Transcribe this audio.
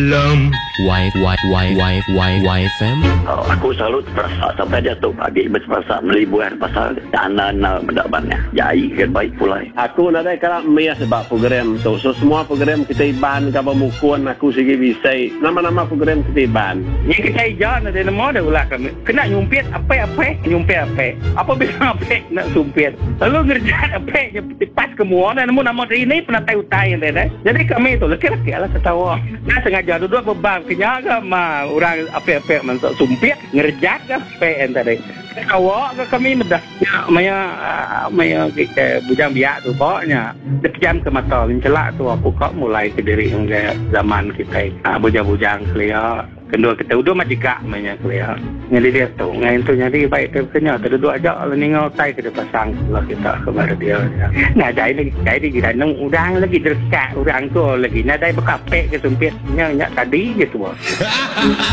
Y Y Y Y Y Y FM. Aku selalu teperasa sampai diatu agi meh teperasa meli buah pasal tanda enda meda manah jai ke baik pulai. Aku nadai kala miss ba program tu. So semua program kitai Iban ka bemukun aku sigi bisi. Nama-nama program kitai Iban. Nyi kitai ija nadai nemu deh ulah kami. Kena nyumpit apek-apek nyumpit apek. Apa bilang apek kena sumpit. Lalu ngerejat apek nya. Ti pas ke mua enda nemu nama diri ni penatai utai nya deh. Nyadi kami tu leki-leki lah ketawa. Enda sengaja duduk bebam ke nya ga ma orang apek-apek mansa sumpit ngerejat ga apek nya tadi. Ketawa ga kami meda nya maya maya agi bujang biak suba nya dipejam ke mata menchelak tu aku ka mulai ke diri ngagai zaman kitai bujang-bujang kelia. Kendua kita udu mah jegak meh nya kelia. Nyadi diatu ngain tu nyadi baik ke baka nya teduduk aja lalu ninga utai ke dipasang bala kita ke ba radio nya. Nadai lagi kitai lagi danu orang lagi derekat orang tu lagi nadai baka apek ke sumpit nya nya tadi ke tua.